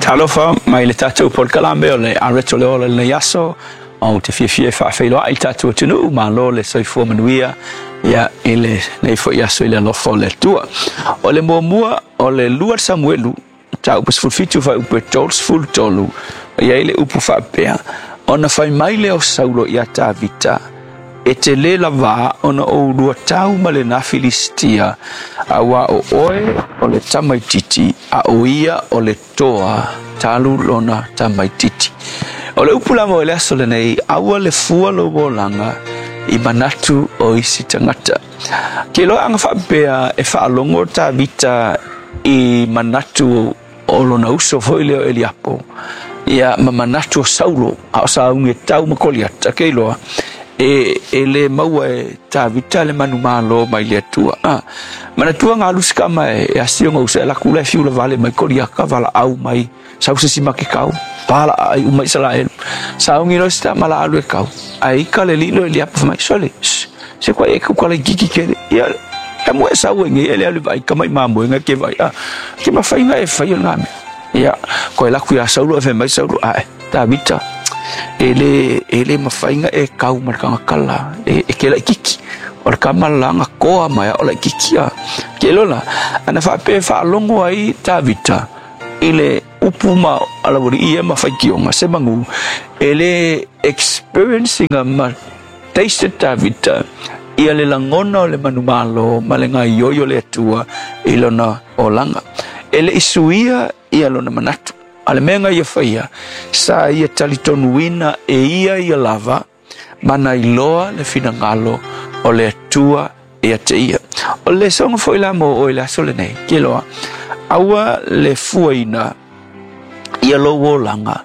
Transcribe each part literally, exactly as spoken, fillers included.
Talofa mai le tatou polokalame o le Areto le Ola lenei aso, o te fiafia e faafeiloai i le tatou atunuu, malo le soifua manuia ia i lenei foi aso i le alofa o le Atua. O le muamua o le lua Samuelu, mataupu sefulu fitu fuaiupu e tolu sefulu tolu, e i ai le upu faapea, ona fai mai lea o Saulo ia Tavita, e te lē lavā ona ou lua tau ma lena Filistia, auā o oe o le tamaititi, a o ia o le toa talu lona tamaititi. O le upu la mo le aso lenei, aua le fua lou olaga i manatu o isi tagata. Ke loa anga faapea e faalogo Tavita i manatu o lona uso foi lea o Eliapo, ia ma manatu o Saulo, a o saugi e tau ma Koliata, ke iloa e, e le maua e Tavita le manumalo mai le Atua. Ah, manatua ngā lusi ka mai e asionga usa e laku le fiula vale mai Koliaka vala au mai sau se sima ke kau pala ai uma Israel. Saungi lo sta mala alu e kau. Ai ka le lilo e liapo mai sole. Se kwa e ku kala kiki kele. Ia e mo e sau e nge ele alu vai ka mai mamu e ke vai. Ah, ke mawhainga e whai o ngā mea. Ia, koe laku ia Saulo e whai mai Saulo. Ah, Tavita. E le, e le mawhainga e kau markanga kala, e, e ke lai kiki. O le kamalanga koa mai o lai kiki a. Ke lola, ana whape whaalongo ai Tavita, i le upu ma alawari ia ma whaikionga, se mangu, e le experiencinga ma taste Tavita, ia le langona o le manumalo, ma le ngai yoyo le atua, i lona olanga. E le isuia ia lona manatu. A le mea ia whaia, sa ia talitonuina e ia ia lava, mana iloa le finangalo o le Atua e ate ia. O le songa foi la mo o le aso lenei, ke loa, aua le fuaina ia lou olaga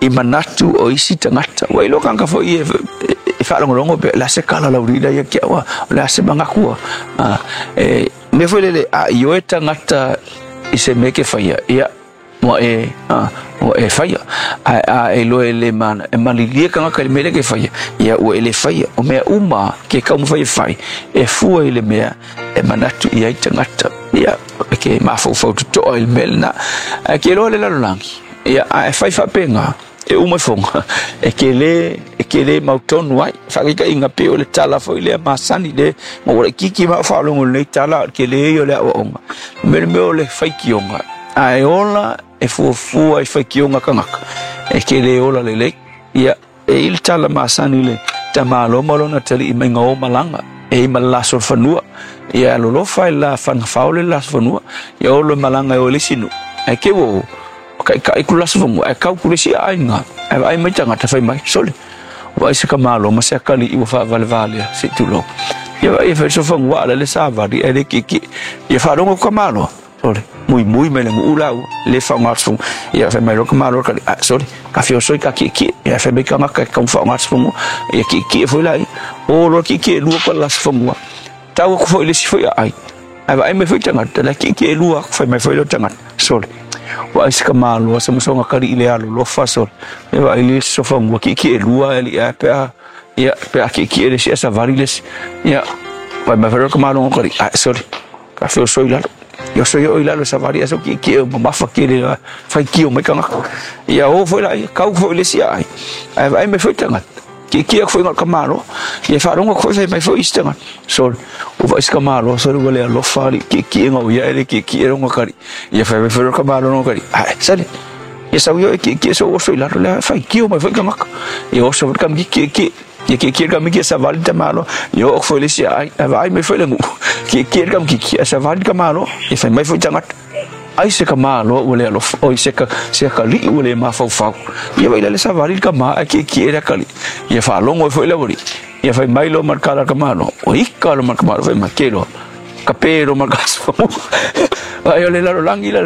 i manatu o isi tagata. Ua iloa kanga foi e, e, e whaalongolongo pe, le ase kala laurina ia kia ua, o le ase mangakua. Ah, e, mea foi lele, a ioe tagata i se mea ke whaia, ia, mua e, ah, ua e whaia. A, a e loe le mana, e malilia kangaka le mele ke whaia, ia ua e le whaia. O mea uma ke kaumu whaia whai, e fua i le mea, e manatu i ai tagata. Ia, e ke mafaufau tutoa i le mele na. A ke loa le lalolangi, ia, a e whai whapenga, e uma fonga, e ke le, e ke le mautonu ai. Whakika inga pe o le tala foi lea masani le, ma ua kiki ma whaalongo nei tala, ke le o le awaonga. Mele mea o le whaikionga, a e ola, e fuafua i whaikionga kangaka, e ke le ola le lei. Ia, e i le tala masani le tamalo malona tali i mainga o malanga, e i malaso fanua. Ia, lolofa i la whangawhao le laso fanua, ia olo malanga e o le sinu. E ke wo, kai kai ku laso fanua, e kau ku le si ainga, e vai mai tangata whai mai, sole. Wa i se ka malo, ma se akali i wa whaavale valea, se tulo. Ia vai e whai so fanua ala le sāvari, e le kiki, ia whaarongo ka malo. Sole, mui mui mai le ngu lau, le whaonga ia whai mai roka malo kali, ah, sole, ka whio soi ka ki ki, ia whai mai kangaka ka whaonga atu ia ki ki e foi lai, o loa ki ki e lua kwa las whangua. Tau aku foi le si foi ai, ai vai mai foi tangata, la ki ki e lua, whai mai foi lo tangata, sole. Wa ai se ka malo, sa masonga kali i le alo, lofa sole, e vai le so whangua, ki ki e lua, e li a pea, ia pea ki ki e le si, a savari le si, ia, vai mai foi roka malo kali, ah, sole, ka whio soi lalo. Ia so ia lalo savari aso ki ki o mafa ki le whai ki o mai kangaka. Ia o foi lai, kau foi le si ai. Ai vai mai foi tangata. Ki ki a foi ngā kamalo. Ia whaaronga foi whai mai foi isi tangata. So, o vai isi kamalo, so le alofa li, ki ki e ngau ia ele ki ki e ronga kari. Ia whai mai foi kamalo ronga kari. Ai, sale. Ia sau ia ki ki so oso i lalo le whai ki o mai foi kangaka. Ia oso foi kamiki ki ki. Ia ki ki kamiki a savali tamalo. Ia o foi le si ai, ai vai mai foi le ngu. Ki ki kamiki ki a savali kamalo. Ia whai mai foi tangata. Ai se ka malo ua le alofa, oi se ka, se ka li ua le mafaufau. Ia vai le savali ka ma, ki ki e le kali. Ia whaalongo e foi le wari. Ia whai mai lo markala ka malo. O ika lo marka malo, whai mai ke lo. Ka pē lo marka asfamu. Ai o le lalo langi la.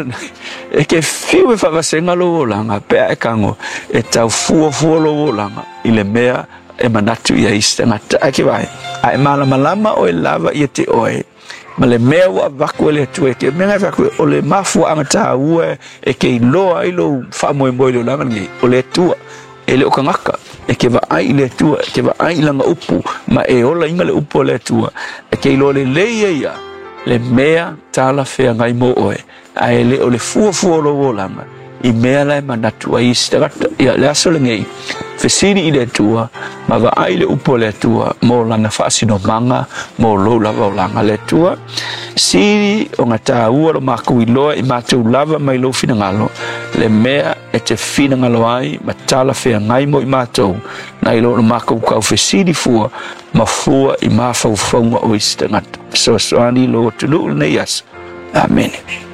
E ke fiu e whavasenga lo olanga, pea e kango, e tau fua fua lo olanga, i le mea e manatu ia isi tangata. Ai ke vai, a e malamalama o e lava ia te oe, ma le mea ua vaku e le atua e ke mea ngai vaku o le mafua anga ua e ke iloa ai lou faamoemoe le olaga lenei, o le Atua, e le o kangaka, e ke vaai i le Atua, e ke vaai i langa upu, ma e ola inga le upu o le Atua, e ke iloa lelei e ia, le mea talafeagai mo oe, ae le o le fuafua o lou olaga, I mea la e manatu ai isi tagata. Ia le aso lenei, fesili i le Atua ma vaai le upu a le Atua mo lana faasinomaga mo lou lava olaga. Le Atua, sili ona tāua lo makou iloa i matou lava mai lou finagalo, le mea e te finagalo ai ma talafeagai mo i matou, nai lo lo makou taufesili fua ma fua i mafaufauga o isi tagata. Fesoasoani lou atunuu lenei aso. Amene.